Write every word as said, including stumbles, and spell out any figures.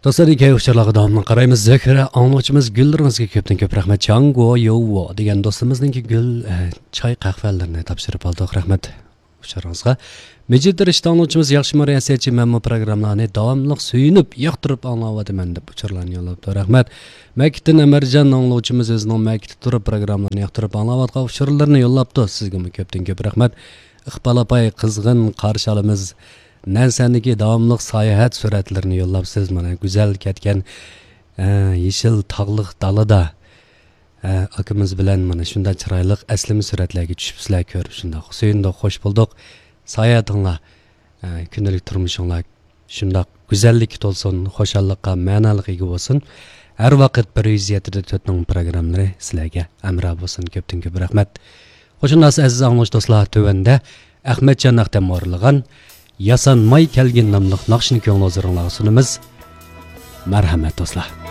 دوستلار، كەيپ ئۇچۇرلارغا داۋاملىق قارايمىز. زۆھرە ئاڭلىغۇچىمىز، گۈللىرىڭىزگە كۆپتىن كۆپ رەھمەت. چاڭگو يوۋو دېگەن دوستىمىزنىڭكى گۈل، ئە، چاي قەھۋەلىرىنى تاپشۇرۇپ ئالدۇق. رەھمەت ئۇچۇرىڭىزغا. مىجىت رىشتە ئاڭلىغۇچىمىز، ياخشىمۇ رىياسەتچى، مەنمۇ پروگراممىلارنى داۋاملىق سۆيۈنۈپ، ياقتۇرۇپ ئاڭلاۋاتىمەن، دەپ ئۇچۇرلارنى يوللاپتۇ. رەھمەت. مەكىتتىن ئەمەرجان ئاڭلىغۇچىمىز ئۆزىنىڭ مەكىتتە تۇرۇپ پروگراممىلارنى ياقتۇرۇپ ئاڭلاۋاتقان ئۇچۇرلىرىنى يوللاپتۇ. سىزگىمۇ كۆپتىن كۆپ رەھمەت. ئىقبال ئاپاي، قىزغىن قارشى ئالىمىز. نەنسەندىكى داۋاملىق ساياھەت سۈرەتلىرىنى يوللاپسىز. مانا، گۈزەل كەتكەن، ئە، يېشىل تاغلىق دالىدا، ئە، ئاكىمىز بىلەن مانا شۇنداق چىرايلىق ئەسلىمە سۈرەتلەرگە چۈشۈپسىلەر، كۆرۈپ شۇنداق سۆيۈندۇق، خوش بولدۇق. ساياھىتىڭلار، ئە، كۈندىلىك تۇرمۇشۇڭلار شۇنداق گۈزەللىككە تولسۇن، خۇشاللىققا، مەنالىققا ئىگە بولسۇن. ھەر ۋاقىت بىر يۈز يەتتە دە تۆتنىڭ پروگراممىلىرى سىلەرگە ھەمراھ بولسۇن. كۆپتىن كۆپ رەھمەت. خوش ئەمدى ئەزىز ئاڭلىغۇچى دوستلار، تۆۋەندە ئەخمەتجان ئەختەم ئورۇنلىغان ياسانماي كەلگىن ناملىق ناخشىنى كۆڭلىڭىزگە ئورۇنلارغا سۇنىمىز. مەرھەمەت دوستلار.